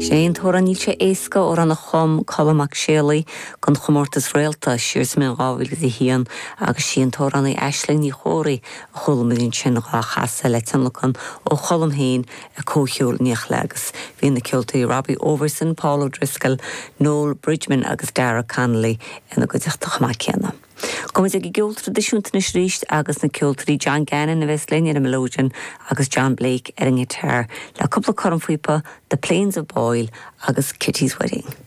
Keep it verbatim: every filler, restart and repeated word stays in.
Sé an t-amhrán Níl sé éasca amhrán a chum Colm Mac Séalaigh don chomórtas Réalta siar sa mbliain dhá mhíle a haon agus sí an t-amhránaí Aisling Ní Chomhraí a chuala muid ansin á chasadh le tionlacan ó Cholm féin a comhcheol níochle agus bhí na ceoltóirí Robbie Overson, Paul O'Driscoll, Noel Bridgman agus Dara Connolly ina gcuideachta chomh maith céanna. Gabhfaidh muid ag an gceol traidisiúnta anois arís agus na ceoltóirí John Gannon a bheas linn ar an melodeon agus John Blake ar an ngiotár le cúpla cornphíopa The Plains of Boyle agus Kitty's Wedding.